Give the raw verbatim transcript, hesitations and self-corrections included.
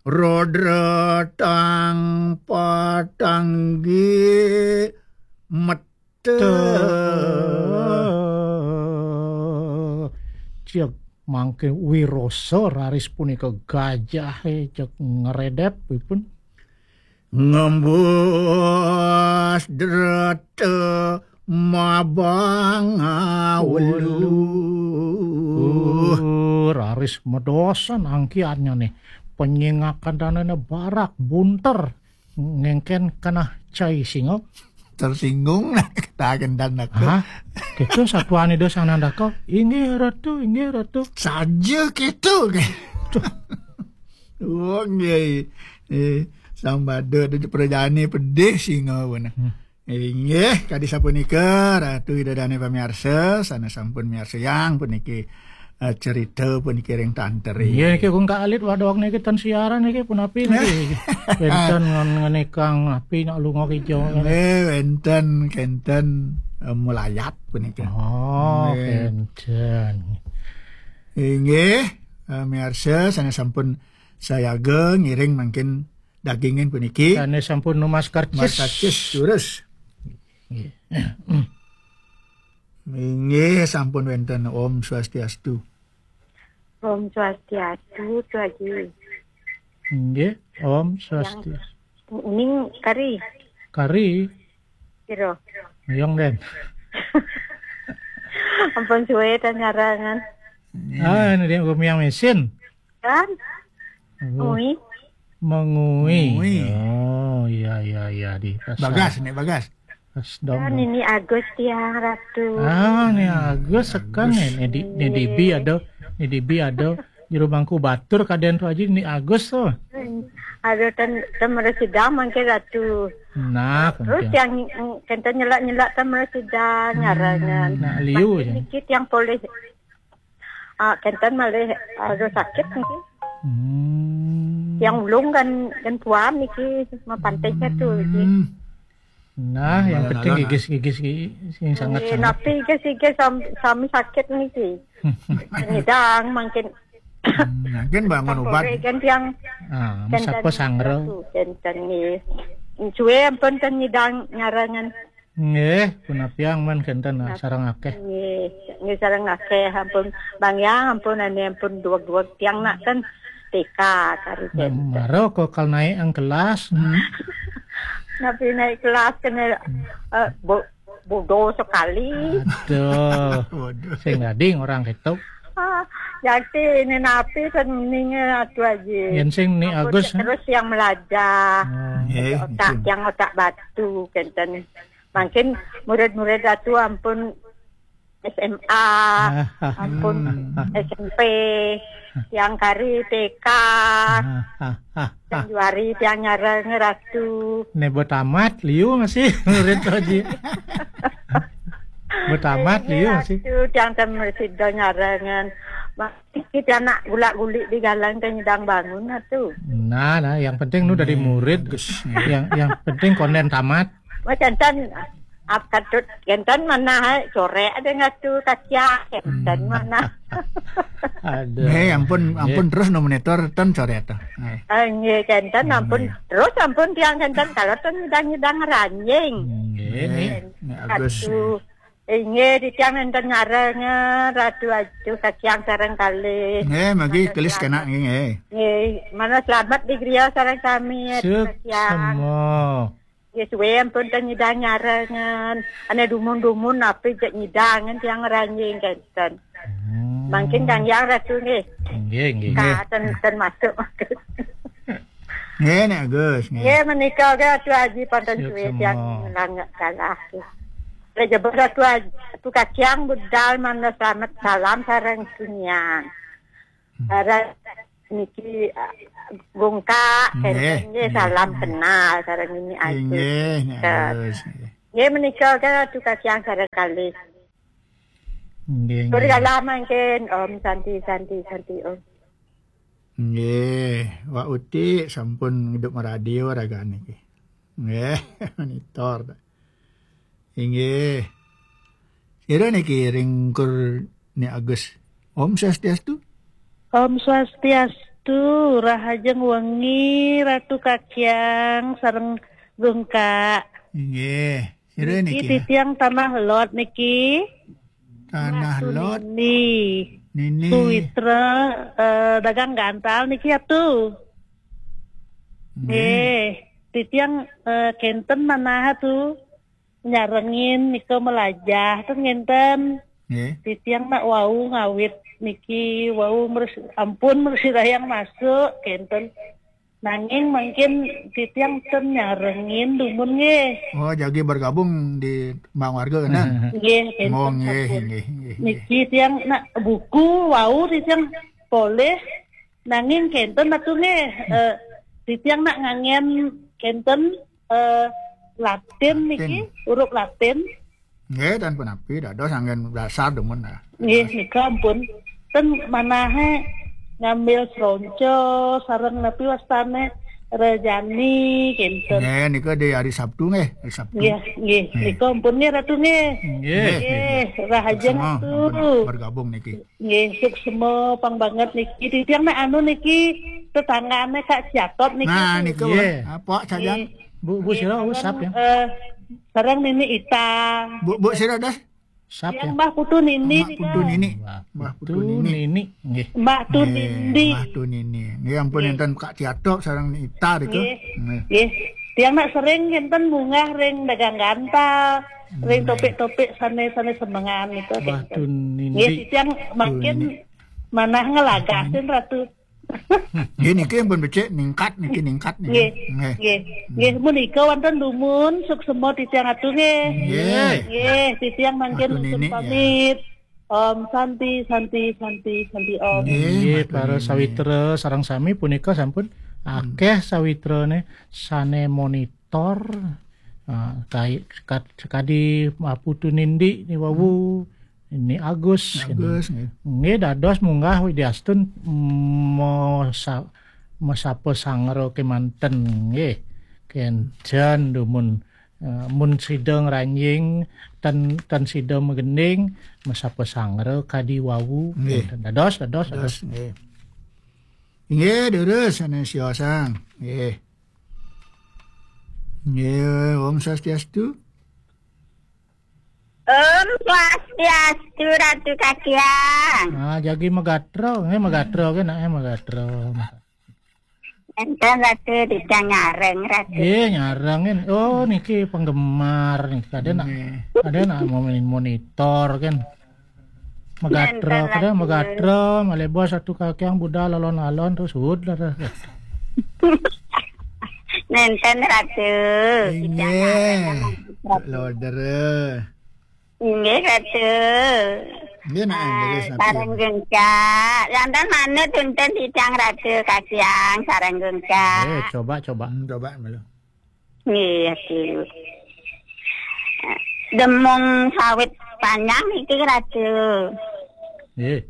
Rodra tang patanggi mete. Cek mangke wirosa raris punika gajah, eh, cek ngeredep ipun. Ngembus drata mabang awelu. Uh, raris medosan angkiannya nih. Penyingakan danane barak bunter. Ngengken kena cai singa. Tersinggung nah kataken dan aku. Hah? Kita satuan ida sang nandaka. Inggih ratu, inggih ratu. Saja kita ke. Oh, nggih. Eh, sambada ada perjalanan pedih singa pun. Hmm. Inggih, kadi sapunika Ratu Ida Dane pamiarsa, sana sampun miarsayang puniki, eh, cerita puniki ring tanteri. Inggih, niki kung kalit wadok niki ten siaran niki punapi niki. Wenten ngen-, ngenikang api nak lunga kijo. Eh, wenten kenten, eh, mulayat punika. Oh, nggih. Kenten. Inggih, eh, miarsa sana sampun sayaga ngiring mangkin dagingin puniki. Dane sampun numas karcis. Numas karcis, terus. Nggih. Inggih, sampun wenten. Om Swastiastu. Om Swastiastu, Tu Aji. Nggih, Om Swastiastu. Ning kari. Kari. Kira. Yong den. Ampun suwe ta nyarangan. Ah, ini dia gumiang mesin. Kan? Oh. Ngui. Mengui. Ngui. Oh, iya, iya, iya, di pasar. Bagas, nek Bagas. Pas dong. Kan ini Agus tiang Ratu. Ah, ini Agus sekan nih. Ini di, ini di B ada, ini di B ada. Jero bangku batur kaden tu aja ini Agus tuh. Ada ten, ten meresidang mangke Ratu. Nah, terus kemudian yang, yang kenten nyelak-nyelak ten meresidang nyarangan. Nah, liu. Mangke ya. Niki tiang poleh Ah, kenten malih, aduh, sakit niki. Hmm. Yang ulung kan, kan puam niki, mapantainya tu, niki. Hmm. Nah, yang penting gigis-gigis ki-, sing sangat-sangat. Napi gigis-gigis sam-, sami sakit niki. Nyidang mangkin. Hmm, mangkin bangun obat. Kan yang ah, kenten sapa sangro. Kenten ni. Suwe ampun ten nyidang nyarangan. Nggih, punapiang men kenten, nah, sareng akeh. Nggih, nggih sareng akeh, ampun Bang Yang, ampun ane, ampun duweg-duweg tiang nak ten T K kari. Nah, kenten. Maro kok kal naik ang kelas. Hmm. Napi naik kelas kena, eh, bo-, bodoh sekali. Aduh. Bodoh. Sing gading orang ketuk. Ah, yakti ini napi ten ninge atu aji. Yen sing ni Agus, terus yang melajah. Oh. Nggih, otak, yang otak batu kenten. Mangkin murid-murid Ratu ampun S M A, ampun S M P, tiang kari T K, tiang juari, tiang nyareng Ratu. Nebo tamat, liu masih murid tu aji. Betamat liu masih. Ratu, tiang tem sida nyarengan. Iki anak gulak-gulik di galang teh nyidang bangun lah tu. Nah, nah, yang penting nu dari murid. Yang, yang penting konden tamat. Macam ten, ap katut, kenten mana hai, corek ada ngatu kacia, kenten mana. Aduh. Nggih, ampun, ampun terus nominator ten corek tu. Nggih. Ah, nggih, kenten ampun. Terus ampun tiang kenten kalau ten nyidang-nyidang ranjing. Nggih, nggih. Agus. Aduh. Inggih, titiang nenten nyarengan, Ratu Ayu, kakiang sareng kalih. Nggih, magi kelis kena nggih, nggih. Nggih, mana selamat di griya sareng sami, kakiang. Suksma. Nggih, suwe ampun ten nyidang nyarengan. Ane dumun-dumun napi jek nyidangan tiang ranjing kenten. Hmm. Mangkin Kang Yang Ratu nggih. Nggih, nggih. Ka ten, ten masuk. Nggih, Nek Agus, nggih. Nggih, menika ke Ratu Aji panten suwe tiang langak kalah. Lek jebos Ratu Aji, Ratu Kaciang budal mangda selamat salam sareng tiniang. Hmm. Sareng niki, ah, Gungkak, nggih, nggih, nggih, salam kenal sareng Nini Agus. Nggih, Nek Agus, nggih. Nggih, menika ke Ratu Kaciang sareng kalih. Nggih, nggih. Tur kalah mangkin, Om Santi, Santi, Santi, Om. Nggih, Wak Uti sampun ngidup radio raga niki. Nggih, monitor. Inggih. Sira niki ring kur Ni Agus. Om Swastiastu. Om Swastiastu. Tuh, rahajeng wengi Ratu Kakyang sareng Gungka. Inggih. Sira niki niki? Titiang Tanah Lot niki. Tanah Ratu Lot. Nini. Nini. Suwitra, eh, dagang gantal niki atuh. Nggih. Nggih. Titiang, eh, kenten manah tuh. Nyarengin nika melajah ten ngenten. Nggih. Titiang nak wau ngawit niki wau mers-, ampun mresirayang masuk kenten. Nanging mungkin titiang ten nyarengin dumun nggih. Oh, jagi bergabung di Mbak Warga, kan? Nggih, kenten. Oh, nggih, ampun. Nggih, nggih, nggih. Niki tiang nak buku wau titiang polih nanging kenten atuh nggih. Eh, titiang nak ngangen kenten, eh, Latin niki, Latin. Huruf Latin. Nggih, dan punapi dados anggen dasar dumun lah. Nggih, nika ampun. Ten manahe ngambil seronco sareng napi wastane rejani kenten. Nggih, nika di hari Sabtu nggih, hari Sabtu. Nggih, nggih. Nggih. Nika ampun nggih Ratu nggih. Nggih. Nggih, rahajeng Ratu. Suksma, ampun bergabung niki. Nggih, suksma pang banget niki. Titiang nek anu niki tetanggane Kak Ciatot niki. Nah, niku. Nggih. Apa saja? Nggih. Bu, Bu Sira, Bu, sap ya. Eh, sareng Nini Ita. Bu, Bu Sira dah. Sap ya. Yang Mbah Putu Nini. Mbah Putu Nini. Mbah Putu Nini. Nggih. Mbah Tu Nindi. Mbah Tu Nini. Nggih, ampun, nggih. Enten Kak Ciatok sareng Ita niku. Nggih. Nggih. Nggih. Tiang nak sering enten munggah ring dagang gantal, ring topik-topik sane-sane semengan niku. Mbah Tu Nindi. Nggih, tiang makin manah ngelagasin Ratu. Nggih, niki pun becik ningkat niki, ningkat niki. Nggih. Nggih. Nggih. Nggih, menika wonten dumun suksema titiang Ratu nggih. Nggih. Nggih, titiang mangkin Ratu nuntun Nini, ya. Pamit. Om Santi, Santi, Santi, Santi Om. Nggih, nggih, Ratu para Nini. Sawitra sareng sami punika sampun akeh sawitrane sane monitor, ah, kai-, kad-, kadi Mbah Putu Nindi niwau. Ini Agus, Agus, ini. Nggih. Nggih, dados munggah widiastun mosa-, mesapa sangra kemanten, nggih. Kencan dumun, eh, mun sida ngranjing, ten, ten sida magending, mesapa sangra kadi wau. Nggih. Kenten. Dados, dados, dados, dados. Nggih. Inggih, durus, sanes siosang. Nggih. Nggih, Om Swastiastu. Om Swastiastu, Ratu Kakyang. Ah, jagi magatra, nggih magatra ke nak, eh, magatra. Enten Ratu, titiang nyareng, Ratu. Nggih, nyareng kan. Oh, niki penggemar niki. Ada nak, nggih. Ada nak mau main monitor kan. Magatra, enten kada Ratu. Magatra, malebos Ratu Kakyang budal alon-alon terus suud lah. Nenten Ratu. Inggih. Titiang nyareng, Ratu. Loder. Inggih, Ratu. Nggih, nak, ah, nggih, sareng Gungka. Lantas manut tuntun titiang Ratu Kakyang sareng Gungka. Eh, coba, coba. Hmm, coba malu. Nggih, Ratu. Demung sawit panjang niki, Ratu. Nggih.